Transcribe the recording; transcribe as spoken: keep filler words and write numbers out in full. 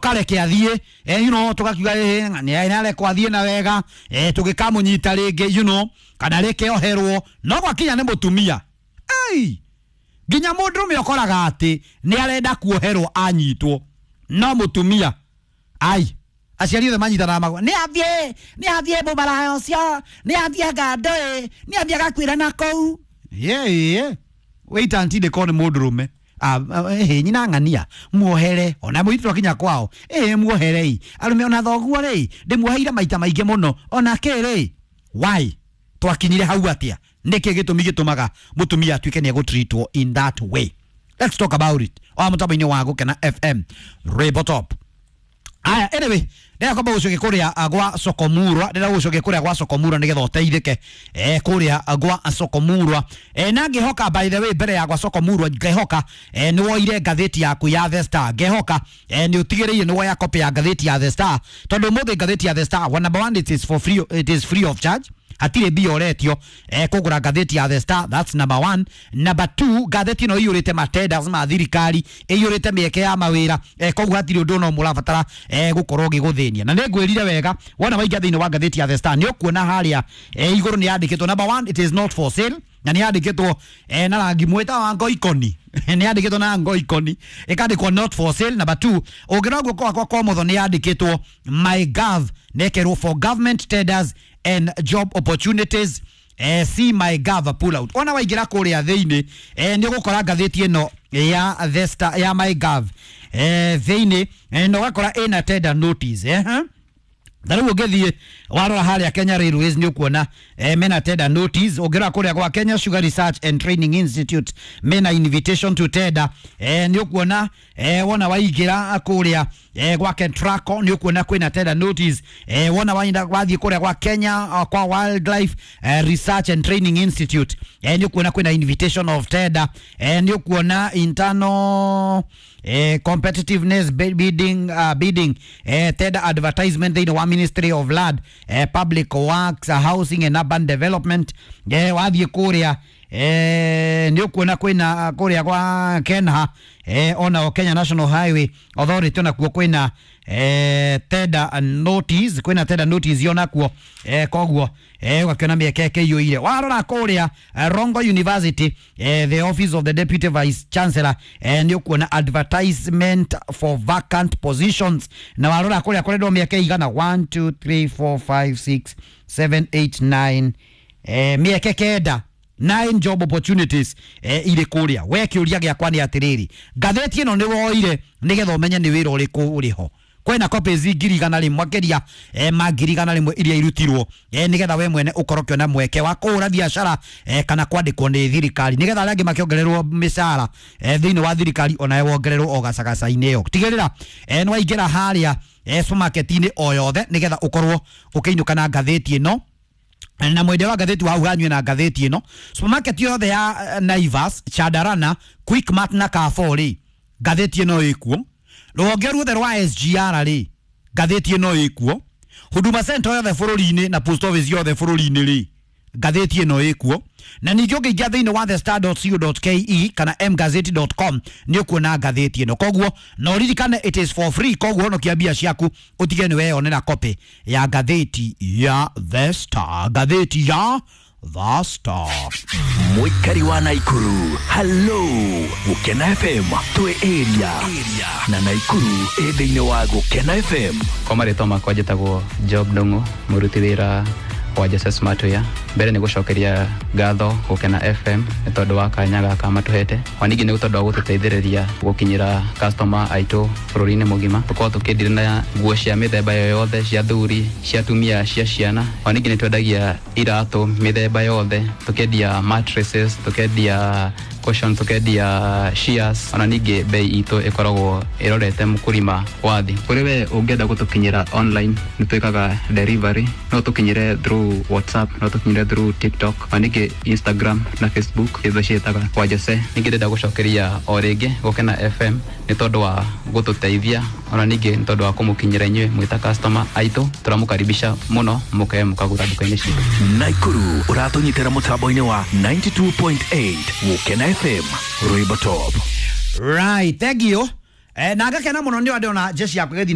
Kareke athiĩ, eh, you know tũgakiuga eh, nĩ arekwo athiĩ na wega, eh, tũgĩkamũnyita rĩngĩ, you know kana rĩke oherwo. No gwakinya nĩ mũtumia, ei, nginya mũndũrũme ũkoraga atĩ nĩ arenda kuoherwo anyitwo, no mũtumia ai, aciari othe manyitanaga magwa, nĩ athiĩ, nĩ athiĩ mũmaraya ũcio, nĩ athiĩ ngandoĩ, nĩ athiĩ agakuĩra na kũu. Ye wait until they call nĩ mũndũrũme. Ah, eh, nyina ng'ania muohere ona mũirĩtu akinya kwao, eh muoherei arũme, ona thoguo rĩ, ndĩmuoheire maita maingĩ mũno, ona kĩ rĩ. Why twakinyire hau atia? Nĩkĩ gĩtũmi gĩtũmaga mũtumia atuĩke nĩ egũtreatwo in that way? Let's talk about it o mũtambo-inĩ wa Gũkena F M Rainbow Top. Aya, anyway, ndĩrenda kwamba gũcokia kũrĩa gwa Sokomurwa, ndĩrenda gũcokia kũrĩa gwa Sokomurwa nĩgetha ũteithĩke, eh, kũrĩa gwa Sokomurwa. eh, na ngĩhoka, by the way, mbere ya gwa Sokomurwa, ngĩhoka eh, nĩ woire ngathĩti yaku ya The Star. Ngĩhoka eh, nĩ ũtigĩrĩire nĩ woya copy ya ngathĩti ya The Star, tondũ ũmũthĩ ngathĩti ya The Star, well, number one, it is for free, it is free of charge, hatirĩ mbia ũretio eh, kũgũra ngathĩti ya The Star. That's number one. Number two, ngathĩti ĩno ĩiyũrĩte matenders ma thirikari, ĩiyũrĩte mĩeke ya mawĩra, eh, koguo hatirĩ ũndũ no mũrabatara eh, gũkorwo ũgĩgũthĩnia. Na nĩ ngwĩrire wega, wona waingĩra thĩinĩ wa ngathĩti ya The Star, nĩ ũkuona harĩa eh, igũrũ nĩ yandĩkĩtwo, number one, it is not for sale, na nĩ yandĩkĩtwo eh, na rangi mwĩta wa ngoikoni, nĩ yandĩkĩtwo na ngoikoni, ĩkandĩkwo "not for sale". Number two, ũngĩrora guoko gwakwa kwa ũmotho, nĩ yandĩkĩtwo "My Gov", nekerwo "for government tenders and job opportunities, eh, see My Gov pull out". Ona waingĩra kũrĩa thĩinĩ, eh, nĩ ũgũkora ngathĩti ĩno ya The Star ya My Gov eh, thĩinĩ, eh, na ũgakora ĩna tender notice, eh, huh? Ta rĩu ũngĩthiĩ warora harĩa Kenya Railways, nĩ ũkuona eh, mena tender notice. Ũngĩrora kũrĩa gwa Kenya Sugar Research and Training Institute, mena invitation to tender. eh, nĩ ũkuona eh, wona waingĩra kũrĩa eh, gwa Kentraco, nĩ ũkuona kwĩna tender notice. eh, wona wainda wathiĩ kũrĩa gwa Kenya uh, kwa Wildlife eh, Research and Training Institute, eh, nĩ ũkuona kwĩna invitation of tender. eh, nĩ ũkuona internal eh, competitiveness bidding, uh, bidding eh, tender advertisement thĩinĩ wa Ministry of Land, eh, Public Works, uh, Housing and Urban Development. eh, wathiĩ kũrĩa eh, nĩ ũkuona kwĩna kũrĩa gwa Kenha, eh, ona Kenya National Highway Authority, onakuo kwĩna eh, tender notice, kwĩna tender notice onakuo. eh, koguo eh, ũgakĩona mĩeke ĩkĩiyũire. Warora kũrĩa eh, Rongo University, eh, the office of the deputy vice chancellor, eh, nĩ ũkuona advertisement for vacant positions. Na warora kũrĩa kũrendwo mĩeke igana, one two three four five six seven eight nine, eh, mĩeke kenda, nine job opportunities eh, irĩ kũrĩa. We kĩũria gĩakwa nĩ atĩrĩrĩ, ngathĩti ĩno nĩ woire nĩgetha ũmenye nĩ wĩra ũrĩkũ ũrĩ ho? Kwĩna copies ngiri igana rĩmwe, makĩria eh, ma ngiri igana rĩmwe iria irutirwo eh, nĩgetha we mwene ũkorwo ũkĩona mweke wa kũhũra biacara eh, kana kwandĩkwo nĩ thirikari, nĩgetha arĩa angĩ makĩongererwo mĩcara eh, thĩinĩ wa thirikari, onawe wongererwo o gacagaca-inĩ ĩyo. Tigĩrĩra eh, nĩ waingĩra harĩa eh, supermarket-inĩ o yothe nĩgetha ũkorwo ũkĩinũka na ngathĩti ĩno, na mwendia wa ngathĩti wa hau hanyue na ngathĩti ĩno. Supermarket yothe ya eh, Naivas, Chandarana, Quickmart na Carrefour rĩ, ngathĩti ĩno ĩkuo. Rũhonge ruothe rwa S G R rĩ, ngathĩti ĩno ĩkuo. Huduma Center yothe bũrũri-inĩ na post office yothe bũrũri-inĩ rĩ, ngathĩti ĩno ĩkuo. Na ningĩ ũngĩingĩra thĩinĩ wa thestar dot co dot ke kana mgazeti dot com, nĩ ũkuona ngathĩti ĩno. Koguo na ũririkane, it is for free, koguo honokia mbia ciaku, ũtige nĩ weyonera copy ya ngathĩti ya The Star, ngathĩti ya The Star. Mũikari wa Naikuru, hallo. Gũkena F M twĩ area na Naikuru ĩ thĩinĩ wa Gũkena F M. Kwa marĩtwa makwa njĩtagwo Job Ndung'u, mũruti wĩra wa Jose Smartwear. Mbere nĩ gũcokeria ngatho Gũkena F M nĩ tondũ wa kanya gaka matũhete, ona ningĩ nĩ tondũ wa gũtũteithĩrĩria gũkinyĩra customer aitũ bũrũri-inĩ mũgima. Tũkoragwo tũkĩndira na nguo cia mĩthemba yothe, cia thuri, cia atumia, cia ciana. Ona ningĩ nĩ twendagia iratũ mĩthemba yothe, tũkendia mattresses, tũkendia cushion, tũkendia shears. Ona ningĩ bei itũ ĩkoragwo ĩrorete mũkũrima wa thĩ. Kũrĩ we ũngĩenda gũtũkinyĩra online, nĩ twĩkaga delivery. No tũkinyĩre through WhatsApp, no tũkinyĩre through TikTok, ona ningĩ Instagram na Facebook, itho ciĩtaga kwa Jose. Ningĩ ndĩrenda gũcokeria o rĩngĩ Gũkena F M nĩ tondũ wa gũtũteithia, ona ningĩ nĩ tondũ wa kũmũkinyĩra inyuĩ mwĩta customer aitũ. Tũramũkaribisha mũno mũke mũkagũra nduka-inĩ citũ. Naikuru ũratũnyitĩra mũtambo-inĩ wa ninety-two point eight Gũkena F M Rwĩmbo Top. Right, thank you. Eh, na ngakena mũno nĩ ndĩrona jeshi yakwa ĩgĩthiĩ.